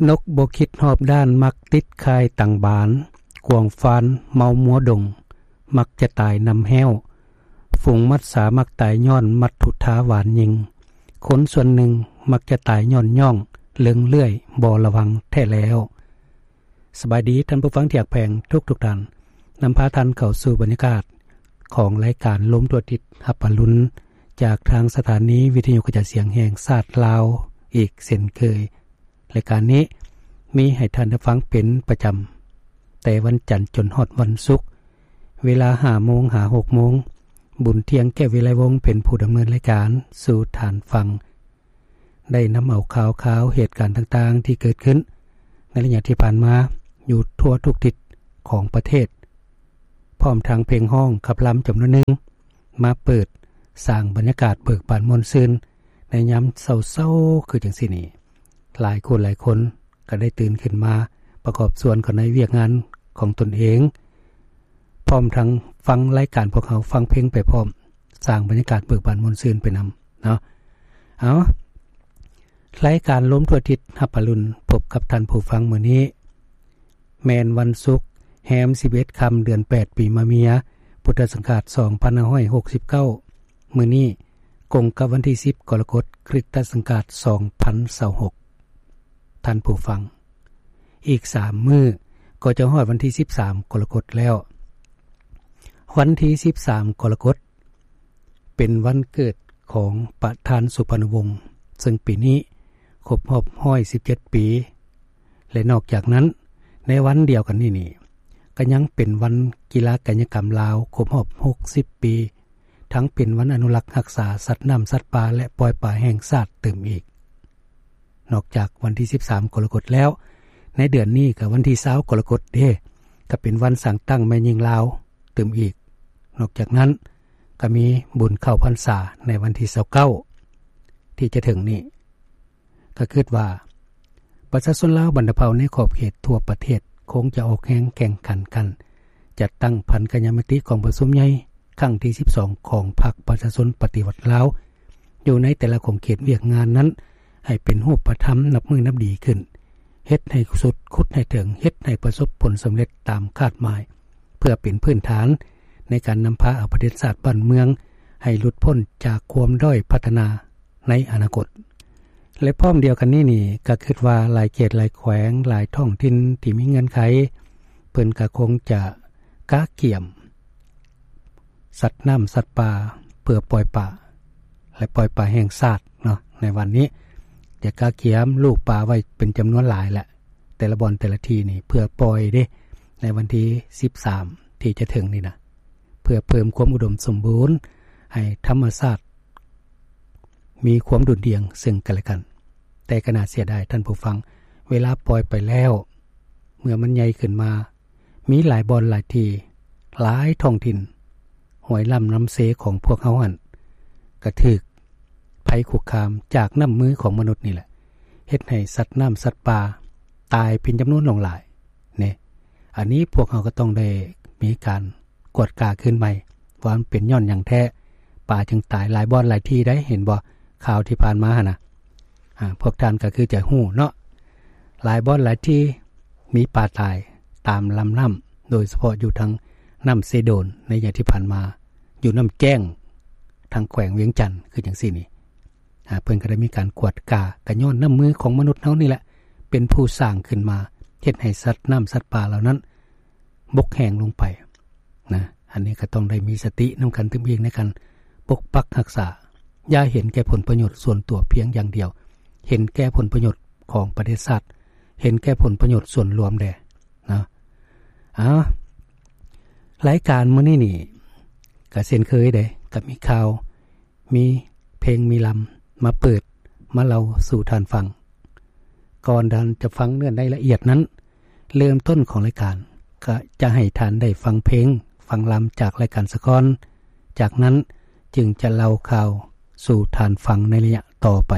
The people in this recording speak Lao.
ນົກບໍ່ຄິດຮອບດ້ານ ມັກຕິດຂ່າຍຕັງບານ, ກວາງຟານເມົາມົວດົງ ມັກຈະຕາຍນຳແຮ້ວ, ຝູງມັດສາມັກຕາຍຍ້ອນມັດຖຸທາຫວານຍິງ, ຄົນສ່ວນໜຶ່ງມັກຈະຕາຍຍ້ອນຍ່ອງເລິງເລື່ອຍບໍ່ລະວັງແທ້ແລ້ວ. ສະບາຍດີທ່ານຜູ້ຟັງທີ່ຮັກແພງທຸກໆທ່ານ, ນຳພາທ່ານເຂົ້າສູ່ບັນຍາກາດຂອງລາຍການລົມທົ່ວທິດຮັບອະລຸນ ຈາກທາງສະຖານີວິທະຍຸກະຈາຍສຽງແຫ່ງຊາດລາວອີກເຊັ່ນເຄີຍ. ລາຍການນີ້ມີໃຫ້ທ່ານໄດ້ຟັງເປັນປະຈຳ ແຕ່ວັນຈັນຈົນຮອດວັນສຸກ ເວລາຫ້າໂມງຫາຫົກໂມງ. ບຸນທ່ຽງ ແກ້ວວິໄລວົງ ເປັນຜູ້ດຳເນີນລາຍການສູ່ທ່ານຟັງ. ໄດ້ນຳເອົາຂ່າວຄາວເຫດການຕ່າງໆທີ່ເກີດຂຶ້ນໃນໄລຍະທີ່ຜ່ານມາຢູ່ທົ່ວທຸກທິດຂອງປະເທດ, ພ້ອມທັງເພງຮ້ອງຂັບລຳຈຳນວນໜຶ່ງ ມາເປີດສ້າງບັນຍາກາດເບີກບານມ່ວນຊື່ນໃນຍາມເຊົ້າໆຄືຈັ່ງຊີ້ນີ້. ຫຼາຍຄູ່ຫຼາຍຄົນກໍໄດ້ຕື່ນຂຶ້ນມາປະກອບສ່ວນເຂົ້າໃນວຽກງານຂອງຕົນເອງ, ພ້ອມທັງຟັງລາຍການພວກເຮົາ, ຟັງເພງໄປພ້ອມ, ສ້າງບັນຍາກາດເບີກບານມ່ວນຊື່ນໄປນຳເນາະ. ເອົາ, ລາຍການລົມທົ່ວທິດຮັບອະລຸນ ພົບກັບທ່ານຜູ້ຟັງມື້ນີ້ ແມ່ນວັນສຸກ ແຮມສິບເອັດຄ່ຳ ເດືອນແປດ ປີມະເມຍ ພຸດທະສັງກາດສອງພັນຫ້າຮ້ອຍຫົກສິບເກົ້າ. ມື້ນີ້ກົງກັບວັນທີສິບ ກໍລະກົດ ຄຣິສຕະສັງກາດສອງພັນຊາວຫົກ. ທ່ານຜູ້ຟັງ, ອີກສາມມື້ກໍຈະຮອດວັນທີສິບສາມ ກໍລະກົດແລ້ວ. ວັນທີສິບສາມ ກໍລະກົດ ເປັນວັນເກີດຂອງປະທານສຸພານຸວົງ ເຊິ່ງປີນີ້ຄົບຮອບຮ້ອຍສິບເຈັດປີ ແລະ ນອກຈາກນັ້ນ ໃນວັນດຽວກັນນີ້ນີ້ ກໍຍັງເປັນວັນກິລາກາຍະກຳລາວຄົບຮອບຫົກສິບປີ, ທັງເປັນວັນອະນຸລັກຮັກສາສັດນ້ຳສັດປ່າ ແລະ ປ່ອຍປາແຫ່ງຊາດຕື່ມອີກ. ນອກຈາກວັນທີສິບສາມ ກໍລະກົດແລ້ວ, ໃນເດືອນນີ້ກໍວັນທີຊາວ ກໍລະກົດເດ້, ກໍເປັນວັນສ້າງຕັ້ງແມ່ຍິງລາວຕື່ມອີກ. ນອກຈາກນັ້ນ ກໍມີບຸນເຂົ້າພັນສາໃນວັນທີຊາວເກົ້າ ທີ່ຈະເຖິງນີ້. ກໍຄິດວ່າ ປະຊາຊົນລາວບັນດາເຜົ່າໃນຂອບເຂດທົ່ວປະເທດ ຄົງຈະອອກແຮງແຂ່ງຂັນກັນ ຈັດຕັ້ງພັນກະຍາມະຕິກອງປະຊຸມໃຫຍ່ຄັ້ງທີສິບສອງ ຂອງພັກປະຊາຊົນປະຕິວັດລາວ ຢູ່ໃນແຕ່ລະຂົງເຂດວຽກງານນັ້ນ ໃຫ້ເປັນຮູບປະທຳນັບມື້ນັບດີຂຶ້ນ, ເຮັດໃຫ້ສຸດ, ຂຸດໃຫ້ເຖິງ, ເຮັດໃຫ້ປະສົບຜົນສຳເລັດຕາມຄາດໝາຍ, ເພື່ອເປັນພື້ນຖານໃນການນຳພາເອົາປະເທດຊາດບ້ານເມືອງ ໃຫ້ຫຼຸດພົ້ນຈາກຄວາມດ້ອຍພັດທະນາໃນອະນາຄົດ. ແລະ ພ້ອມດຽວກັນນີ້ນີ້ ກໍຄິດວ່າຫຼາຍເຂດຫຼາຍແຂວງ ຫຼາຍທ້ອງຖິ່ນທີ່ມີເງື່ອນໄຂ ເພິ່ນກໍຄົງຈະກະກຽມສັດນ້ຳສັດປ່າ ເພື່ອປ່ອຍປາ ແລະ ປ່ອຍປາແຫ່ງຊາດເນາະ. ໃນວັນນີ້ຈະກະກຽມລູກປາໄວ້ເປັນຈຳນວນຫຼາຍແຫຼະ ແຕ່ລະບ່ອນແຕ່ລະທີ່ນີ້ ເພື່ອປ່ອຍເດ້ ໃນວັນທີສິບສາມ ທີ່ຈະເຖິງນີ້ນະ ເພື່ອເພີ່ມຄວາມອຸດົມສົມບູນ ໃຫ້ທຳມະຊາດມີຄວາມດຸ່ນດ່ຽງເຊິ່ງກັນແລະກັນ. ແຕ່ກໍໜ້າເສຍດາຍທ່ານຜູ້ຟັງ, ເວລາປ່ອຍໄປແລ້ວ ເມື່ອມັນໃຫຍ່ຂຶ້ນມາ ມີຫຼາຍບ່ອນຫຼາຍທີ່, ຫຼາຍທ້ອງຖິ່ນ, ຫ້ວຍລຳນ້ຳເຊຂອງພວກເຮົາຫັ້ນ ກະຖືກໄພຄຸກຄາມຈາກນ້ຳມືຂອງມະນຸດນີ້ແຫຼະ, ເຮັດໃຫ້ສັດນ້ຳສັດປ່າຕາຍເປັນຈຳນວນຫຼວງຫຼາຍເນ. ອັນນີ້ພວກເຮົາກໍຕ້ອງໄດ້ມີການກວດກາຄືນໃໝ່ ວ່າມັນເປັນຍ້ອນຫຍັງແທ້ ປາຈຶ່ງຕາຍ. ຫຼາຍບ່ອນຫຼາຍທີ່ໄດ໋ ເຫັນບໍ່ ຂ່າວທີ່ຜ່ານມາຫັ້ນນະ, ອາ ພວກທ່ານກໍຄືຈະຮູ້ເນາະ. ຫຼາຍບ່ອນຫຼາຍທີ່ມີປາຕາຍຕາມລຳນ້ຳ, ໂດຍສະເພາະຢູ່ທາງນ້ຳເຊໂດນໃນໄລຍະທີ່ຜ່ານມາ, ຢູ່ນ້ຳແກ້ງທາງແຂວງວຽງຈັນ ຄືຈັ່ງຊີ້ນີ້. ອາ ເພິ່ນກໍໄດ້ມີການກວດກາ, ກໍຍ້ອນນ້ຳມືຂອງມະນຸດເຮົານີ້ແຫຼະ ເປັນຜູ້ສ້າງຂຶ້ນມາ, ເຮັດໃຫ້ສັດນ້ຳສັດປ່າເຫຼົ່ານັ້ນບົກແຫ້ງລົງໄປນະ. ອັນນີ້ກໍຕ້ອງໄດ້ມີສະຕິນຳກັນຕື່ມອີກໃນການປົກປັກຮັກສາ, ຢ່າເຫັນແກ່ຜົນປະໂຫຍດສ່ວນຕົວພຽງຢ່າງດຽວ, ເຫັນແກ່ຜົນປະໂຫຍດຂອງປະເທດຊາດ, ເຫັນແກ່ຜົນປະໂຫຍດສ່ວນລວມແດ່ນະ. ເອົາ, ລາຍການມື້ນີ້ນີ້ກໍເຊັ່ນເຄີຍເດ້, ກໍມີຂ່າວ ມີເພງມີລຳມາເປີດມາເລົ່າສູ່ທ່ານຟັງ. ກ່ອນທ່ານຈະຟັງເນື້ອໃນລະອຽດນັ້ນ, ເລີ່ມຕົ້ນຂອງລາຍການກໍຈະໃຫ້ທ່ານໄດ້ຟັງເພງ, ຟັງລຳຈາກລາຍການສາກ່ອນ, ຈາກນັ້ນຈຶ່ງຈະເລົ່າຂ່າວສູ່ທ່ານຟັງໃນໄລຍະຕໍ່ໄປ.